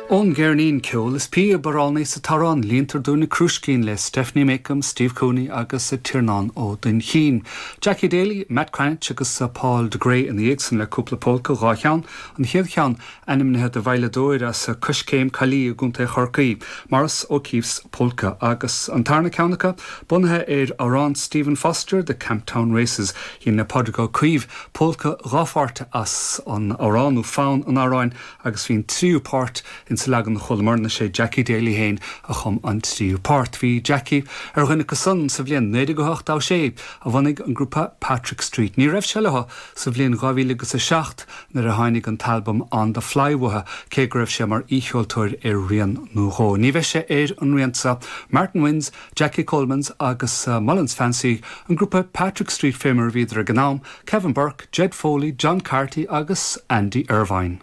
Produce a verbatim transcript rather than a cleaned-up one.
Ón gceirnín Ceol is Píob, Amhránaí 's an t-arán líontar dúinn na crúiscín le Stephanie Makem, Steve Cooney agus Tiarnán Ó Duinnchinn. Jackie Daly, Matt Cranitch agus Paul de Grey ina dhiaidh san le cúpla polca dhá cheann, an chéad cheann ainmnithe do veidhleadóir as Coiscéim Caillí i gContae Chorcaí, Maurice O'Keefe's Polka agus an tarna ceann acu bunaithe ar amhrán Stephen Foster the Camptown Races dhein Pádraig Ó Caoimh polca dhá pháirt as an amhrán nó fonn an amhráin agus bhí an tríú páirt in sa leagan chualamar sé Jackie Daly féin a chum an tríú páirt. Bhí Jackie ar dhuine acu san sa bhliain naoi déag ochtó sé a bhunaigh an grúpa Patrick Street. Ní raibh sé leo sa bhliain dhá mhíle agus a seacht nuair a tháinig an t-albam On the Fly uathu cé go raibh sé mar aoicheoltóir ar rian nó dhó. Ní bheidh sé ar an rian seo Martin Wynns, Jackie Colemans agus uh, Mullins Fancy an grúpa Patrick Street fé mar a bhíodar ag an am, Kevin Burke, Jed Foley, John Carty agus Andy Irvine.